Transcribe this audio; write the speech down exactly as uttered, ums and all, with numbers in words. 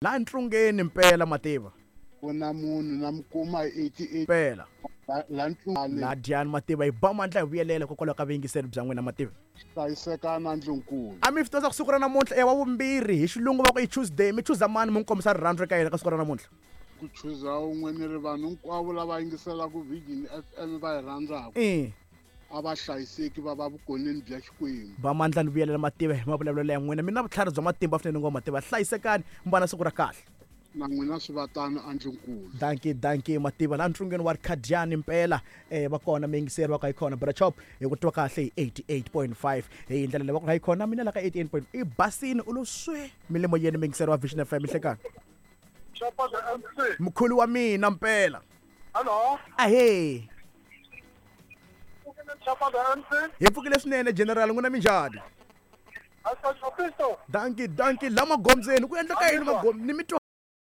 La ntlungeni mpela mativa. Ku na munhu na mi kuma hi eighty-eight mpela. La ntlungeni. La dyani mativa hi ba mandla hi vuyelela hikokwalaho ka vuyingiseri bya n'wina mativa. Hlayiseka na ndlunkulu. A mi swi tiva ku siku ra namuntlha i wa vumbirhi hi xilungu va ku i Tuesday mi chuza mani mi n'wi kombisa rirhandzu eka yena ka siku ra namuntlha. Ku chuza un'we ni ri vanhu hinkwavo lava yingiselaka Vision F M va yi rhandzaka. Eh. A va hlayiseki va va vukoneni bya Xikwembu. Ba mandla ni vuyelela mativa hi mavulavulelo ya n'wina. Mi na vutlhari bya matimba swinene ngoma mativa. Hlayisekani mi va na siku ra kahle. Na n'wina swi va tano andlunkulu. Dankie, dankie mativa la ntlungeni wa Khadiani mpela eh va kona miyingiseri va ka hi kona Bra Chop hi ku twa kahle hi eighty-eight point five hi ndlela leyi va ku hi kona mina la ka eighty-eight point five i basini u lo swe milimo yeni miyingiseri wa Vision F M hlekani. Mkhulu wa mina mpela. Hello. Ahee. Chapa the M C. Hi pfukile swinene General n'wina minjhani? Dankie, dankie la magondzweni ku endleka yini magom ni mi twa